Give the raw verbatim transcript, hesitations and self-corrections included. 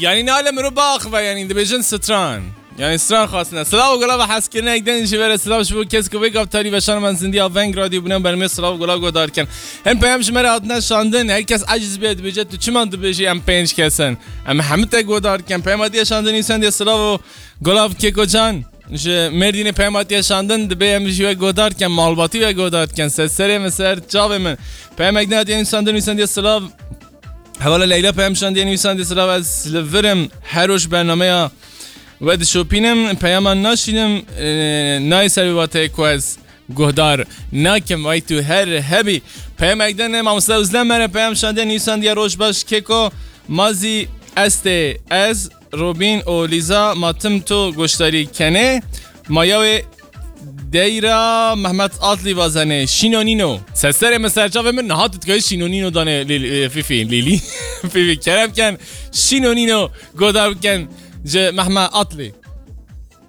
Yanî nale mirov biaxive, yanî dibêjin stran. Yanî stran xwastine. Silav û gulav hezkirine ek din jî vere silav ji bo kes ku vê gavtarî veşan man zindiya Veng Radyo bûne bermê silav û gulav guhdar kin. Hin peyam ji me re hatine şandin. Her kes eciz bê dibêje tu çima dibêjî em pênc kes in. Em hemû te guhdar kin. Peyama diye şandin nîsandiye silav û gulav Keko Can. Ji Mêrdînê peyama diye şandin dibê em ji we guhdar kin. Malbatî we guhdar kin. Ser serê min ser çavê min. Peyam ek din hatiye nîsandin nîsandiye silav. Hevala Leyla peyam şandiye nivîsandiye silav ez li vir im her roj bernameya we dişopînim peyama naşînim e, nayê ser vê wateyê ku ez guhdar nakim vay tu her hebî. Peyam ek din mamoste Uzlem mere peyam şandiye nivîsandiye roj baş keko ma zî estê ez Robîn û Lîza ma tim tu goşdarî kenê ma yawê Deyra Mehmet Atli vazenê Şîno Nîno. Seserê min serçavê min niha tu dikayî Şîno Nîno danê Lîl- e, Fîfî Lîlî Fîfî kerem ken Şîno Nîno godar biken ji Mehmet Atli.